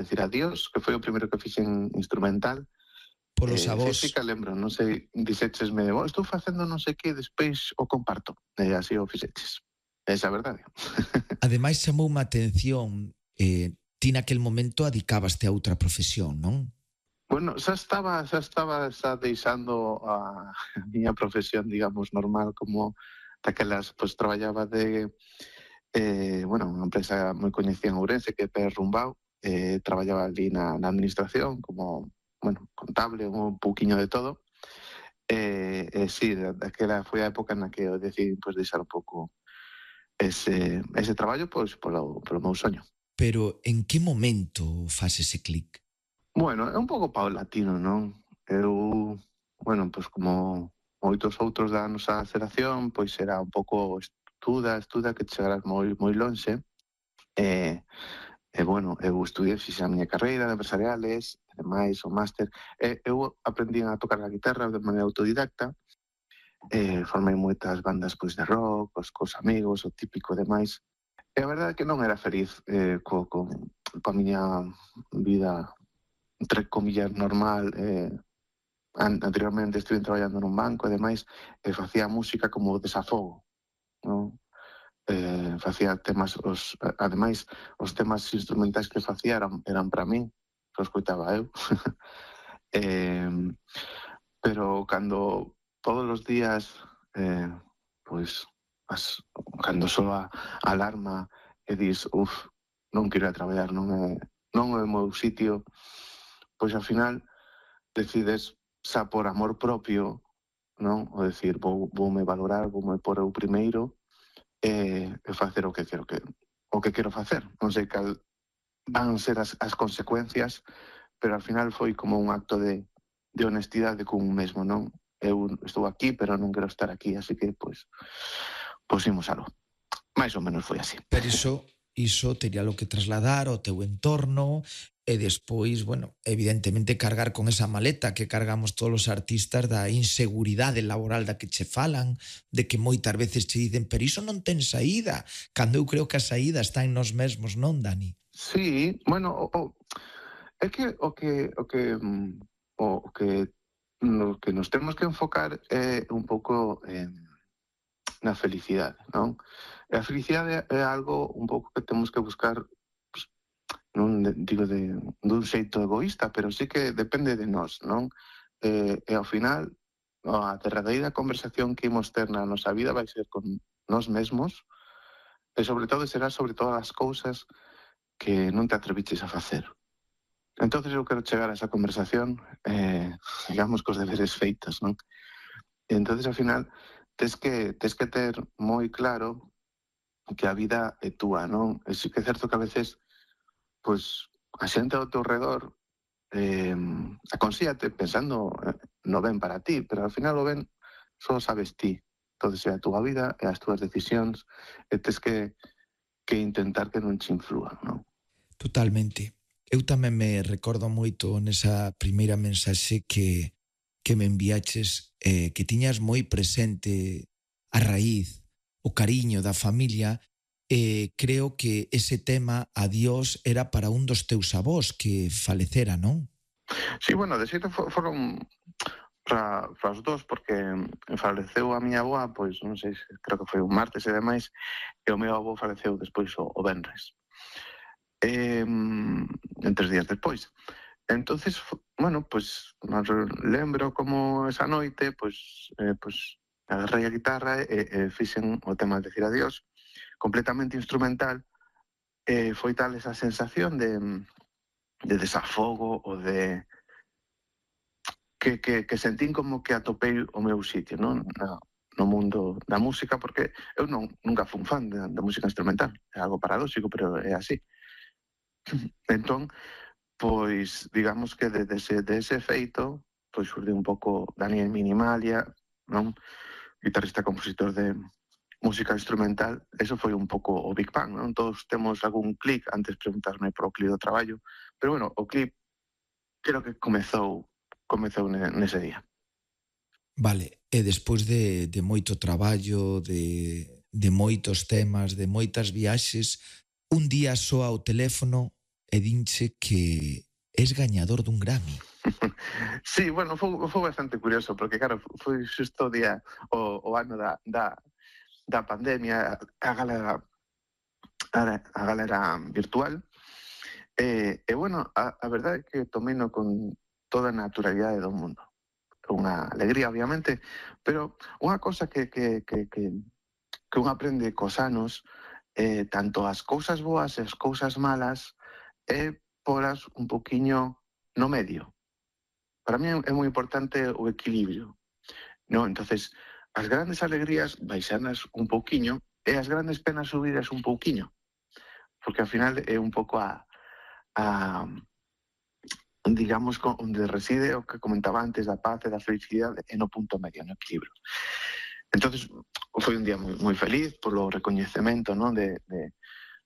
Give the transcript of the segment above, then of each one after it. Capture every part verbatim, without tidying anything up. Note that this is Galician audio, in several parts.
decir adiós, que foi o primeiro que fixen instrumental. Polos Eh, avós. sí, sí que lembro, non sei, dixéchesme, oh, estou facendo non sei que, despois o comparto. E así o fixeches. Esa é a verdade. Ademais, chamoume a atención, eh, ti naquel momento adicábaste a outra profesión, non? Bueno, xa estaba, xa estaba xa deixando a, a miña profesión, digamos, normal, como daquelas, pois, traballaba de, eh, bueno, unha empresa moi coñecida en Ourense, que é Pérez Rumbao, eh, traballaba ali na, na administración, como, bueno, contable, un pouquiño de todo. E, eh, eh, sí, daquela foi a época na que eu decidí, pois, deixar un pouco ese, ese traballo, pois, polo, polo meu soño. Pero en que momento faz ese clic? Bueno, é un pouco paulatino, non? Eu, bueno, pois como moitos outros da nosa xeración, pois era un pouco estuda, estuda, que chegarás moi moi lonxe. E, e bueno, eu estudiei, fixe a miña carreira de empresariales, e demais, o máster. E eu aprendí a tocar a guitarra de maneira autodidacta. Eh, formei moitas bandas, pois, de rock, cos, cos amigos, o típico e demais. E a verdade é que non era feliz eh, co, co, coa miña vida, entre comillas, normal. Eh, anteriormente estuve traballando nun banco e demais, e facía música como desafogo, non? Eh, facía temas, os, ademais, os temas instrumentais que facía eran, eran para min, que os coitaba eu. eh, pero cando todos os días, eh, pois, as, cando soa a alarma e dis, uf, non quero ir a traballar, non é, non é o meu sitio, pois ao final decides, xa por amor propio, non? O decir, vou, voume valorar, voume por eu primeiro e, e facer o que quero que o que quero facer. Non sei cal van ser as, as consecuencias, pero ao final foi como un acto de, de honestidade con un mesmo, non? Eu estou aquí, pero non quero estar aquí, así que, pois, pois imos algo. Mais ou menos foi así. Pero iso, iso teria lo que trasladar ao teu entorno e despois, bueno, evidentemente cargar con esa maleta que cargamos todos os artistas da inseguridade laboral da que che falan, de que moitas veces che dicen, pero iso non ten saída, cando eu creo que a saída está en nós mesmos, non, Dani? Sí, bueno, o, o, é que o que o que o que no que nos temos que enfocar é un pouco en na felicidade, non? E a felicidade é algo un pouco que temos que buscar, pues, non digo de dun xeito egoísta, pero sí que depende de nós, non? E, e ao final, a derradeira conversación que imos ter na nosa vida vai ser con nós mesmos, e sobre todo será sobre todas as cousas que non te atreviches a facer. Entonces eu quero chegar a esa conversación, eh, digamos, cos deberes feitos, non? E entonces, ao final, tes que, tes que ter moi claro que a vida é túa, non? E sí que é certo que a veces, pois, a xente ao teu redor eh, aconsíate pensando no ben para ti, pero ao final o ben só sabes ti. Entonces é a túa vida, é as túas decisións, e tes que, que intentar que non te inflúan, non? Totalmente. Eu tamén me recordo moito nesa primeira mensaxe que, que me enviaches, eh, que tiñas moi presente a raíz, o cariño da familia, e eh, creo que ese tema, adiós, era para un dos teus avós que falecera, non? Sí, bueno, de xeito foron para, para os dos, porque faleceu a miña avoa, pois non sei, creo que foi un martes e demais, e o meu avó faleceu despois o, o venres. Eh, en tres días despois. Entonces, bueno, pues lembro como esa noite, pues, eh, pues agarrei a guitarra e, e fixen o tema de decir adiós, completamente instrumental, e foi tal esa sensación de, de desafogo o de que, que, que sentín como que atopei o meu sitio, non? No, no mundo da música, porque eu non, nunca fui un fan da, da música instrumental, é algo paradóxico, pero é así. Entón, pois, digamos que de, de, ese, de ese feito, pois xurde un pouco Daniel Minimalia, non? Guitarrista compositor de música instrumental, eso foi un pouco o Big Bang, non? Todos temos algún clic, antes preguntarme por o clic do traballo, pero bueno, o clic creo que comezou, comezou nese día. Vale, e despois de, de moito traballo, de, de moitos temas, de moitas viaxes, un día soa o teléfono e dinche que es gañador dun Grammy. Sí, bueno, foi, foi bastante curioso, porque claro, foi xusto o día, o, o ano da, da, da pandemia, a galera, a, a galera virtual, e, e bueno, a, a verdade é que tomei-no con toda a naturalidade do mundo. Unha alegría, obviamente, pero unha cosa que, que, que, que, que un aprende cos anos, eh, tanto as cousas boas e as cousas malas, é polas un poquiño no medio. Para mí é moi importante o equilibrio, ¿no? Entonces, as grandes alegrías baixanas un pouquiño e as grandes penas subidas un pouquiño, porque ao final é un pouco a, a digamos, onde reside o que comentaba antes da paz e da felicidade e no punto medio, no equilibrio. Entonces, foi un día moi, moi feliz polo recoñecemento, ¿no? de, de,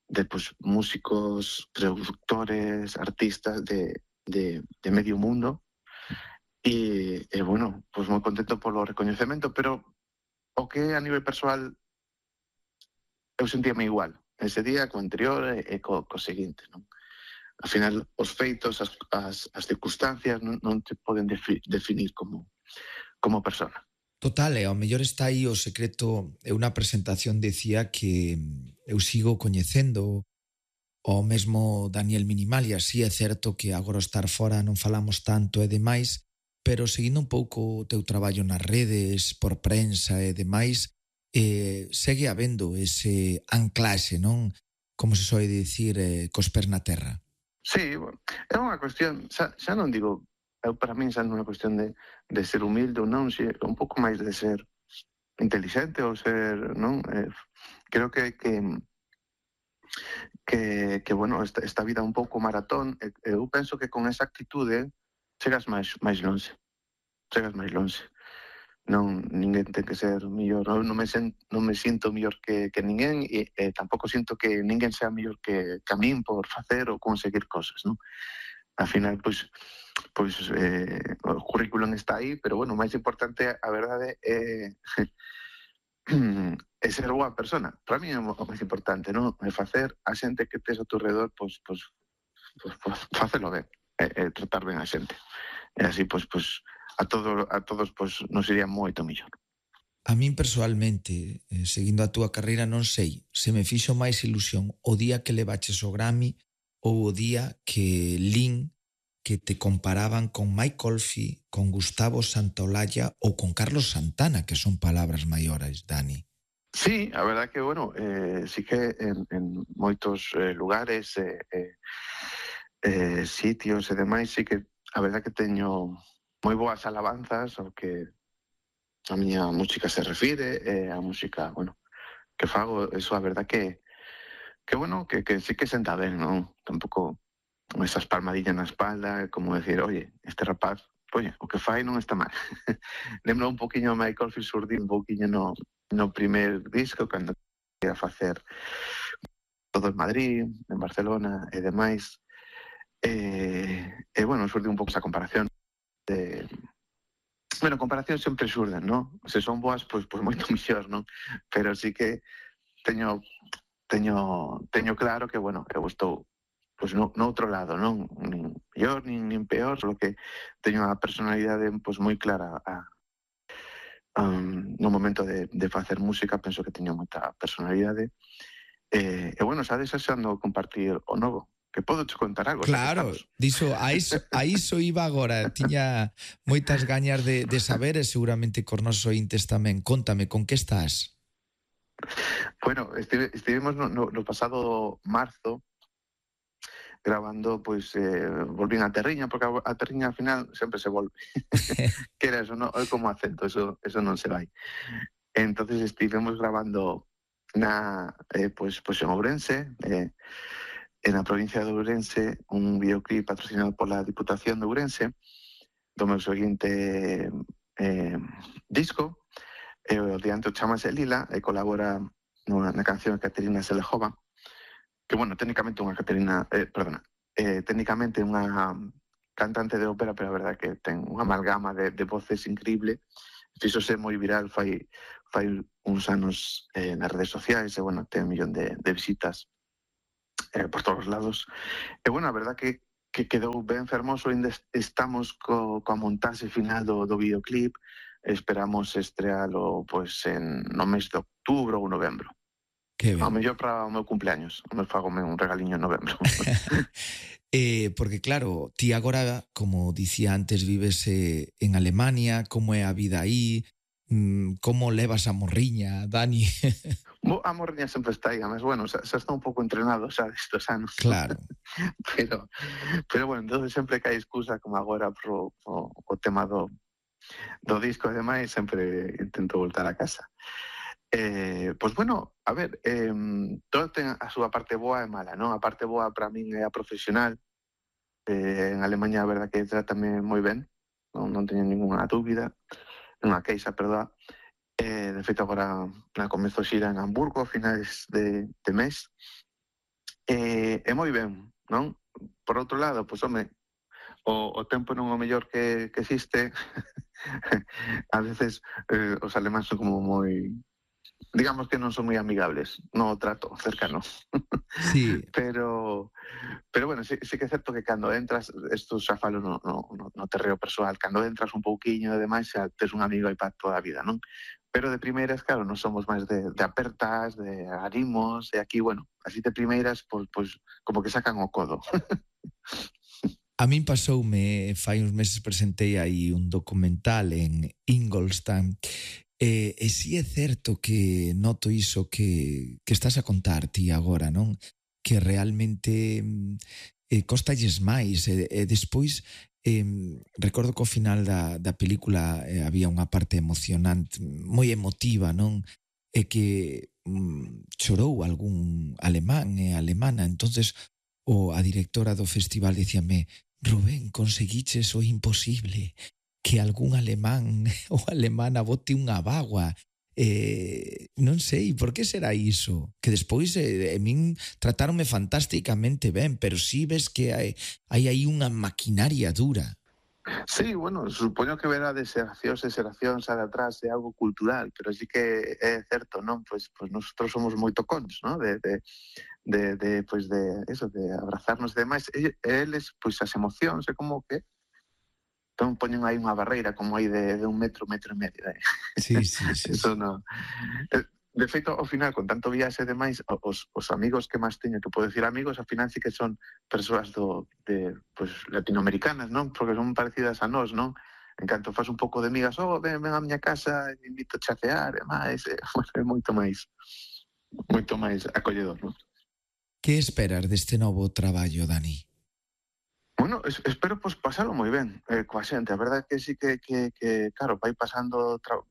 de pues, músicos, productores, artistas de, de, de medio mundo. E, e bueno, pues moi contento polo recoñecemento, pero o que a nivel persoal eu sentíame igual ese día co anterior e, e co, co seguinte, non? Al final, os feitos, as, as, as circunstancias non, non te poden defi, definir como, como persona. Total, e ao mellor está aí o secreto. Eu na presentación decía que eu sigo coñecendo o mesmo Daniel Minimal, e así é certo que agora estar fora non falamos tanto e demais, pero seguindo un pouco o teu traballo nas redes, por prensa e demais, eh, segue habendo ese anclaxe, non? Como se soe dicir, eh, cos pés na terra. Sí, bueno, é unha cuestión, xa, xa non digo, eu para min xa non é unha cuestión de, de ser humilde ou non, si, un pouco máis de ser inteligente ou ser, non? Eh, creo que, que que, que bueno, esta, esta vida é un pouco maratón, e, eu penso que con esa actitude chegas máis, máis longe, chegas máis longe. Non, ninguén ten que ser mellor, non, non, me, sen, non me sinto mellor que, que ninguén, e, e tampouco sinto que ninguén sea mellor que, que a min por facer ou conseguir cosas, non? Al final, pois, pois eh, o currículum está aí, pero bueno, o máis importante, a verdade, é é ser boa persona. Para mí é o máis importante, non? É facer a xente que tes ao teu redor, pois, pois, pois, pois facelo ben, e, e tratar ben a xente. E así, pois, pois, a, todo, a todos pois, nos iría moito mellor. A min personalmente, eh, seguindo a túa carreira, non sei se me fixo máis ilusión o día que levaches o Grammy ou o día que lín que te comparaban con Mike Oldfield, con Gustavo Santaolalla ou con Carlos Santana, que son palabras maiores, Dani. Sí, a verdad que, bueno, eh, sí que en, en moitos eh, lugares, eh, eh, eh, sitios e demais, sí que a verdad que teño moi boas alabanzas ao que a miña música se refire, e a música, bueno, que fago, eso a verdad que, que bueno, que, que sí que senta ben, non? Tampouco esas palmadillas na espalda, como decir, oye, este rapaz, oye, o que fai non está mal. Lembro un poquinho a Michael Oldfield surdir un poquinho no, no primer disco, cando ia facer todo en Madrid, en Barcelona e demais. E, e bueno, surdi un pouco esa comparación de... Bueno, comparacións sempre xurden, non? Se son boas, pois, pois moito mellor, non? Pero sí que teño teño teño claro que, bueno, eu estou pois no, no outro lado, non? Nin mellor, nin, nin peor, só que teño a personalidade pois moi clara a, um, no momento de, de facer música, penso que teño moita personalidade. E, e bueno, xa desexando compartir o novo, que podo te contar algo. Claro, diso, a iso, a iso iba agora, tiña moitas gañas de, de saber, e seguramente cos nosos ointes tamén. Contame, con que estás? Bueno, estive, estivemos no, no, no pasado marzo grabando, pois, eh, volvín a Terriña, porque a Terriña al final sempre se volve. Que era eso, no? É como acento, eso, eso non se vai. Entonces estivemos grabando na, eh, pois, pois en Ourense, eh, en a provincia de Ourense, un videoclip patrocinado pola Diputación de Ourense, do meu seguinte eh, disco, e o diante chamase Lila, e colabora nunha, na canción Caterina Selejova, que, bueno, técnicamente unha Caterina, eh, perdona, eh, técnicamente unha cantante de ópera, pero a verdade que ten unha amalgama de, de voces increíble. Fíxose moi viral fai, fai uns anos eh, nas redes sociais, e, bueno, ten un millón de, de visitas. eh, por todos os lados. E, bueno, a verdad que, que quedou ben fermoso, ainda estamos co, coa montaxe final do, do videoclip, esperamos estrealo pois, en, no mes de outubro ou novembro. Que Ao ben. mellor para o meu cumpleaños, me fagome un regaliño en novembro. eh, porque claro, ti agora, como dicía antes, vives eh, en Alemania, como é a vida aí, mm, como levas a morriña, Dani? Bo, a morriña sempre está aí, mas bueno, xa, xa está un pouco entrenado xa destos anos. Claro. pero, pero bueno, entonces sempre que hai excusa, como agora pro, pro, o tema do, do disco e demais, sempre intento voltar a casa. Eh, pois bueno, a ver, eh, todo ten a súa parte boa e mala, non? A parte boa para min é a profesional. Eh, en Alemanha a verdad que trátame moi ben, non, non teño ninguna dúbida, nunha queixa, perdón. Eh, de feito agora na comezo xira en Hamburgo a finais de, de mes. Eh, é moi ben, non? Por outro lado, pois home, o, o tempo non é o mellor que, que existe. A veces eh, os alemáns son como moi, digamos que non son moi amigables no trato cercano. Sí. pero pero bueno, sí, sí que é certo que cando entras, isto xa falo no, no, no terreo persoal, cando entras un pouquiño e demais xa tes un amigo aí para toda a vida, non? Pero de primeiras, claro, non somos máis de, de apertas, de animos, e aquí, bueno, así de primeiras, pois, pois como que sacan o codo. A min pasoume, fai uns meses presentei aí un documental en Ingolstadt. E, e si é certo que noto iso que, que estás a contar ti agora, non? Que realmente eh, costalles máis e, e despois eh, recordo que ao final da, da película eh, había unha parte emocionante, moi emotiva, non? E que mm, chorou algún alemán e alemana, entonces o a directora do festival dicíame: Rubén, conseguiches o imposible, que algún alemán ou alemana bote unha bagua. Eh, non sei, por que será iso? Que despois eh, a min tratáronme fantásticamente ben, pero si ves que hai, hai aí unha maquinaria dura. Sí, bueno, supoño que verá de xeracións e xeracións a de atrás de algo cultural, pero sí que é certo, non? Pois, pois nosotros somos moi tocóns, non? De, de, de, de, pois de, eso, de abrazarnos e demais. E, eles, pois as emocións, é como que entón poñen aí unha barreira como aí de, de un metro, metro e medio. Eh? Sí, sí, sí. Eso non. De feito, ao final, con tanto viaxe e demais, os, os amigos que máis teño, que podo decir amigos, ao final sí que son persoas do, de, pues, latinoamericanas, non? Porque son parecidas a nós, non? En canto faz un pouco de migas, oh, ven, ven a miña casa, invito a chacear, e máis, e, bueno, é moito máis, moito máis acolledor, non? Que esperas deste novo traballo, Dani? Bueno, es, espero pues, pasalo moi ben eh, coa xente. A verdade é que sí que, que, que claro, vai pasando... Tra...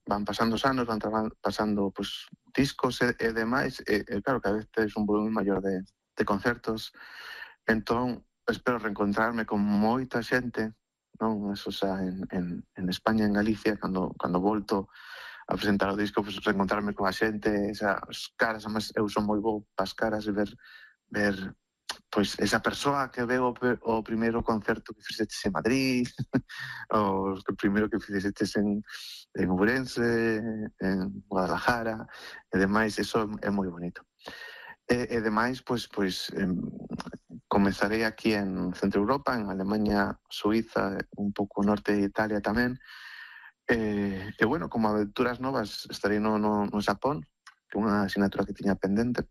van pasando os anos, van pasando pues, discos e, e demais, e, e claro, cada vez tes un volumen maior de, de concertos, entón espero reencontrarme con moita xente, non? Eso xa en, en, en España, en Galicia, cando, cando volto a presentar o disco, pues, reencontrarme con a xente, esas caras, además eu son moi bo pas caras e ver, ver pois esa persoa que veo o primeiro concerto que fixeches en Madrid, o primeiro que fixeches en, en Ourense, en Guadalajara, e demais, eso é moi bonito. E, e demais, pois, pois em, comezarei aquí en Centro Europa, en Alemania, Suiza, un pouco norte de Italia tamén, e, e bueno, como aventuras novas, estarei no, no, no Xapón, que é unha asignatura que tiña pendente.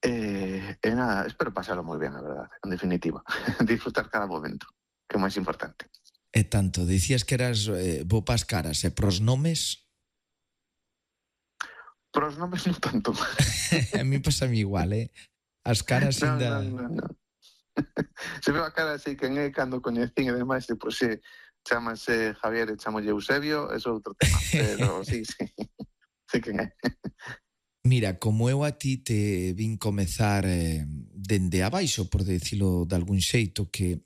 Eh, e nada, espero pasarlo moi ben, a verdade, en definitiva. Disfrutar cada momento, que é o máis importante. E tanto, dicías que eras eh, bo pas caras, e pros nomes? Pros nomes non tanto. A mí pasa a mí igual, eh? As caras non, ainda... Non, non, non. Se veo a cara así, quen é, cando coñecín e demais, e, pois, se chamase Javier e chamolle Eusebio, é outro tema, pero sí, sí, sí quen é. Mira, como eu a ti te vin comezar eh, dende abaixo, por decirlo de algún xeito, que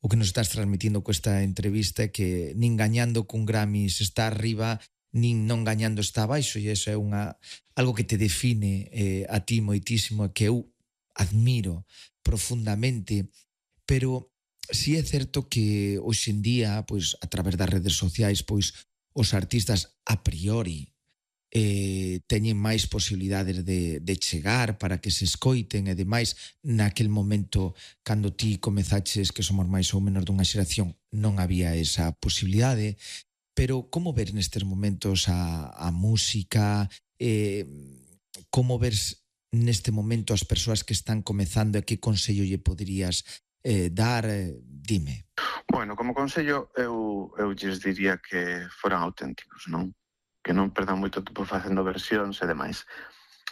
o que nos estás transmitindo con esta entrevista é que nin gañando cun Grammy se está arriba, nin non gañando está abaixo, e iso é unha, algo que te define eh, a ti moitísimo, que eu admiro profundamente, pero si é certo que hoxe en día, pois, a través das redes sociais, pois, os artistas a priori eh, teñen máis posibilidades de, de chegar para que se escoiten e demais. Naquel momento, cando ti comezaches, que somos máis ou menos dunha xeración, non había esa posibilidade. Pero como ver nestes momentos a, a música? Eh, como ves neste momento as persoas que están comezando e que consello lle poderías eh, dar? Eh, dime. Bueno, como consello, eu, eu lles diría que foran auténticos, non? Que non perdan moito tempo facendo versións e demais.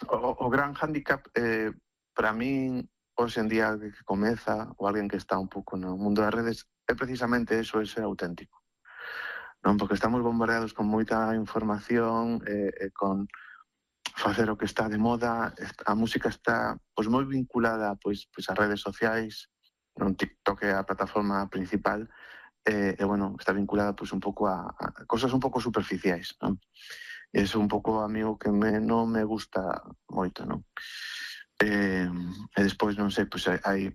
O, o gran hándicap, eh, para min, hoxe en día que comeza, ou alguén que está un pouco no mundo das redes, é precisamente eso, é ser auténtico. Non? Porque estamos bombardeados con moita información, e, e con facer o que está de moda. A música está pois moi vinculada pois, pois ás redes sociais, non? TikTok é a plataforma principal, e, e bueno, está vinculada pois un pouco a, a cosas un pouco superficiais, non? E iso un pouco a mí o que me, non me gusta moito, non? E, e despois, non sei, pois hai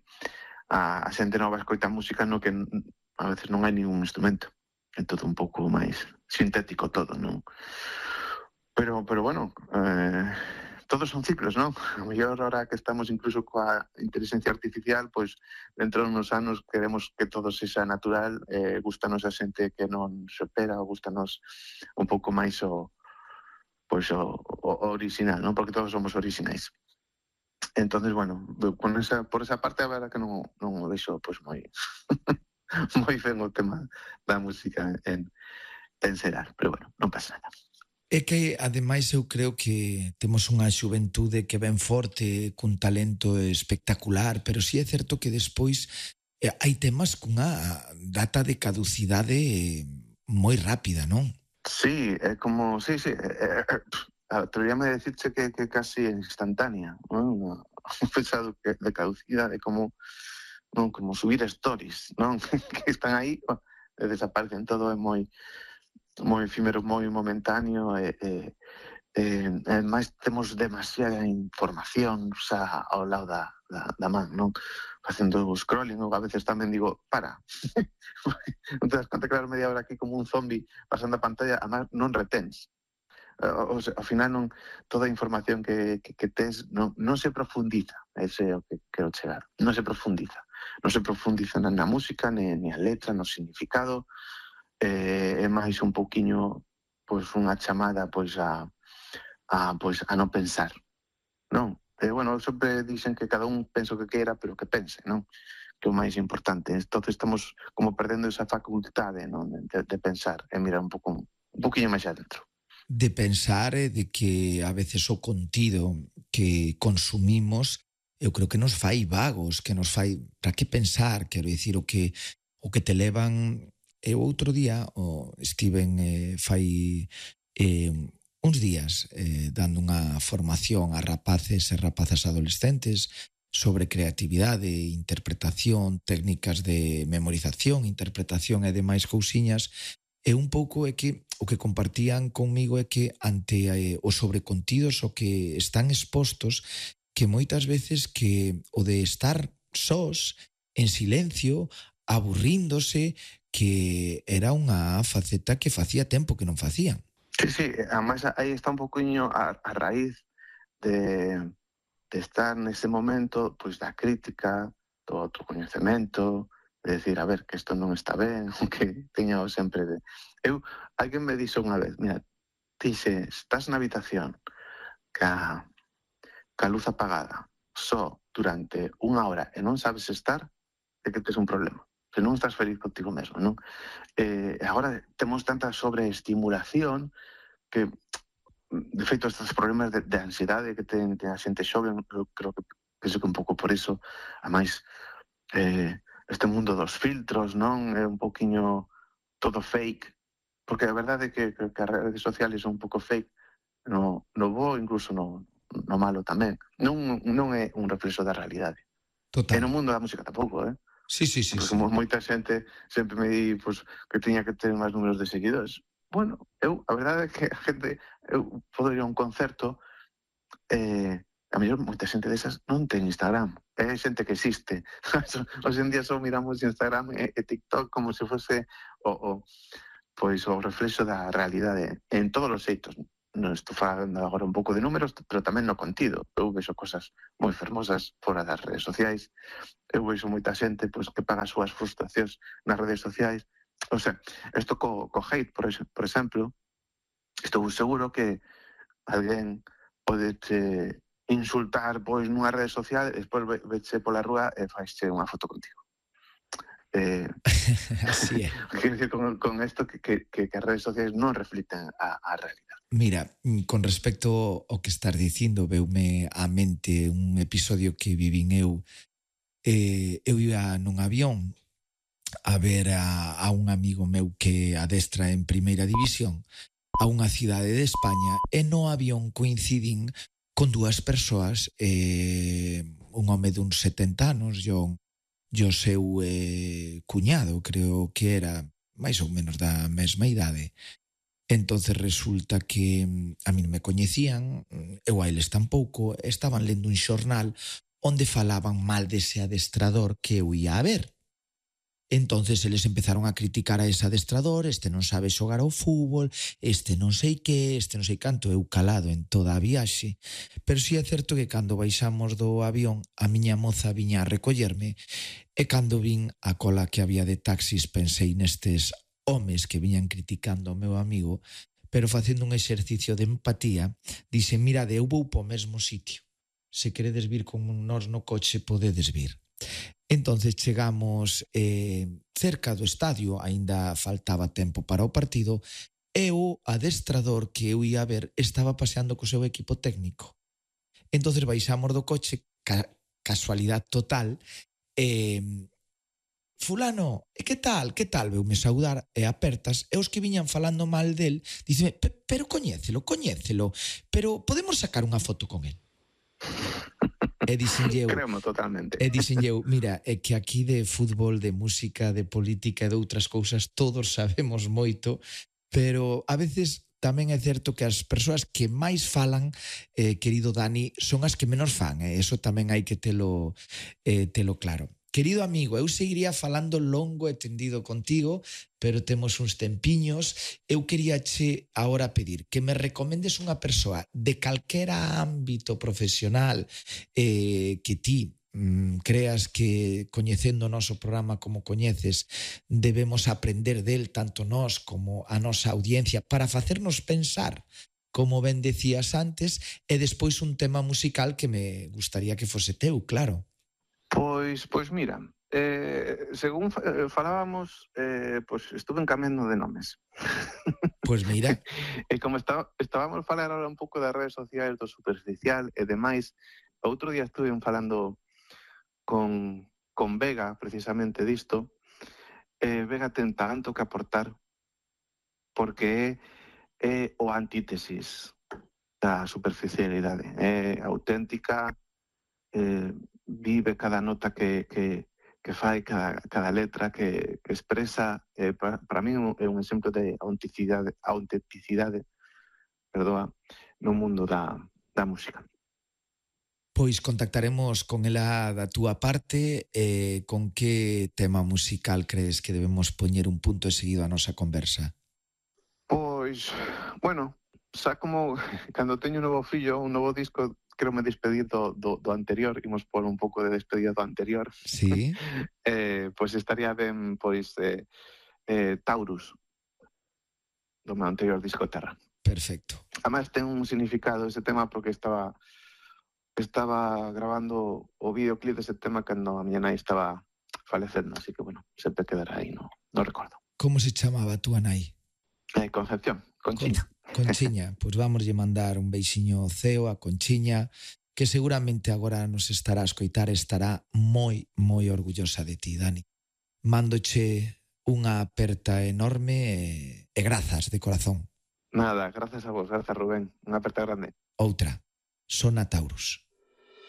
a, a xente nova escoita música no que a veces non hai ningún instrumento, é todo un pouco máis sintético todo, non? Pero, pero bueno, eh, todos son ciclos, non? A mellor ahora que estamos incluso coa inteligencia artificial, pois dentro de unos anos queremos que todo sexa natural, eh, gustanos a xente que non se opera, ou gustanos un pouco máis o pois o, o, o original, non? Porque todos somos originais. Entonces, bueno, con esa, por esa parte a verdad que non, non o deixo pois moi moi ben o tema da música en, en serar, pero bueno, non pasa nada. É que, ademais, eu creo que temos unha xuventude que ven forte, cun talento espectacular, pero si é certo que despois eh, hai temas cunha data de caducidade moi rápida, non? Sí, é como, sí, sí, eh, eh, atreveríame a decirche que, que casi instantánea, non? Un pesado que de caducidade, como, non, como subir stories, non? Que están aí e desaparecen, todo é moi moi efímero, moi momentáneo, e, e, e, e máis temos demasiada información xa ao lado da, da, da man, non? Facendo o scrolling, ou a veces tamén digo, para, non te das conta que vas media hora aquí como un zombi pasando a pantalla, además non retens. O, o, ao final non, toda a información que, que, que tens non, non se profundiza, ese é o que quero chegar, non se profundiza, non se profundiza na, na música, ni, ni a letra, no significado. Eh, é máis un pouquiño pois unha chamada pois a, a, pois, a non pensar, non? E, bueno, sempre dicen que cada un pensa o que queira, pero que pense, non? Que é o máis importante. Entón estamos como perdendo esa facultade, non? De, de pensar e mirar un pouco un pouquiño máis adentro. De pensar e de que a veces o contido que consumimos eu creo que nos fai vagos, que nos fai para que pensar, quero dicir, o que o que te levan. Eu outro día o estiven eh, fai eh, uns días eh, dando unha formación a rapaces e rapazas adolescentes sobre creatividade, interpretación, técnicas de memorización, interpretación e demais cousiñas, e un pouco é que o que compartían conmigo é que ante eh, os sobrecontidos o que están expostos, que moitas veces que o de estar sós, en silencio, aburríndose, que era unha faceta que facía tempo que non facían. Sí, sí, además aí está un poquinho a, a raíz de, de estar nese momento pois da crítica, do autocoñecemento, de decir, a ver, que isto non está ben, que teño sempre de... Eu, alguén me dixo unha vez, mira, ti se estás na habitación ca, ca luz apagada só durante unha hora e non sabes estar, é que tes un problema. Que non estás feliz contigo mesmo, non? Eh, agora temos tanta sobreestimulación que, de feito, estes problemas de, de ansiedade que ten, ten a xente xoven, eu creo que penso que un pouco por iso, a máis eh, este mundo dos filtros, non? É un pouquiño todo fake, porque a verdade é que, que, que as redes sociales son un pouco fake, no, no bo, incluso no, no malo tamén. Non, non é un reflexo da realidade. Total. E no mundo da música tampouco, eh? Sí, sí, sí. Porque sí. moita xente sempre me di pues, que tiña que ter máis números de seguidores. Bueno, eu, a verdade é que a xente, eu podo ir a un concerto, eh, a mellor moita xente desas non ten Instagram, é xente que existe. Hoxe en día só miramos Instagram e, e TikTok como se fose o, o, pois, o reflexo da realidade en todos os xeitos. non estou falando agora un pouco de números, pero tamén no contido. Eu vexo cosas moi fermosas fora das redes sociais. Eu vexo moita xente pois, que paga as súas frustracións nas redes sociais. O sea, isto co, co hate, por, ex, por exemplo, estou seguro que alguén pode te insultar pois nunha rede social e despois veche pola rúa e faische unha foto contigo. Eh, Así é. Quero dicir con, con esto que, que, que as redes sociais non reflicten a, a realidade. Mira, con respecto ao que estás dicindo, veume á mente un episodio que vivín eu. Eh, eu ia nun avión a ver a, a un amigo meu que adestra en primeira división a unha cidade de España e no avión coincidín con dúas persoas, eh, un home duns setenta anos, yo o seu eh, cuñado, creo que era máis ou menos da mesma idade. Entonces resulta que a mí non me coñecían, eu a eles tampouco, estaban lendo un xornal onde falaban mal dese adestrador que eu ia a ver. Entonces eles empezaron a criticar a ese adestrador, este non sabe xogar ao fútbol, este non sei que, este non sei canto, eu calado en toda a viaxe. Pero si é certo que cando baixamos do avión, a miña moza viña a recollerme e cando vin a cola que había de taxis pensei nestes homes que viñan criticando ao meu amigo, pero facendo un exercicio de empatía, dixe, mirade, eu vou po mesmo sitio. Se queredes vir con nós no coche, podedes vir. Entonces chegamos eh, cerca do estadio, aínda faltaba tempo para o partido, e o adestrador que eu ia ver estaba paseando co seu equipo técnico. Entonces baixamos do coche, ca casualidade total, e eh, fulano, e que tal, que tal, veume saudar e apertas, e os que viñan falando mal del, díceme, pero coñécelo, coñécelo, pero podemos sacar unha foto con el. E dixenlle eu, Cremo totalmente. E dixenlle eu, mira, é que aquí de fútbol, de música, de política e de outras cousas todos sabemos moito, pero a veces tamén é certo que as persoas que máis falan, eh, querido Dani, son as que menos fan, e eh? Eso tamén hai que telo, eh, telo claro. Querido amigo, eu seguiría falando longo e tendido contigo, pero temos uns tempiños. Eu queríache agora pedir que me recomendes unha persoa de calquera ámbito profesional eh, que ti mm, creas que, coñecendo o noso programa como coñeces, debemos aprender del tanto nós como a nosa audiencia para facernos pensar, como ben decías antes, e despois un tema musical que me gustaría que fose teu, claro. Pois, pois mira, eh, según eh, falábamos, eh, pois estuve encamendo de nomes. Pois mira. E como está, estábamos a falar ahora un pouco das redes sociais, do superficial e demais, outro día estuve falando con, con Vega, precisamente disto, e Vega ten tanto que aportar, porque é, é o antítesis da superficialidade, é auténtica, eh, vive cada nota que, que, que fai, cada, cada letra que, que expresa, eh, para, para mí é un exemplo de autenticidade, autenticidade perdoa, no mundo da, da música. Pois contactaremos con ela da túa parte, eh, con que tema musical crees que debemos poñer un punto e seguido a nosa conversa? Pois, bueno, xa como cando teño un novo fillo, un novo disco, quero me despedir do, do, do anterior, imos por un pouco de despedida do anterior. Sí. eh, pois estaría ben, pois, eh, eh, Taurus, do meu anterior disco Terra. Perfecto. Además ten un significado ese tema porque estaba estaba grabando o videoclip dese tema cando a miña nai estaba falecendo, así que, bueno, sempre quedará aí, no, no recordo. Como se chamaba a túa nai? Eh, Concepción, Conchiña. Con, Conchiña, pois pues vamos lle mandar un beixiño ceo a Conchiña, que seguramente agora nos estará a escoitar, estará moi, moi orgullosa de ti, Dani. Mándoche unha aperta enorme e, e grazas de corazón. Nada, grazas a vos, grazas Rubén, unha aperta grande. Outra, Sona Taurus.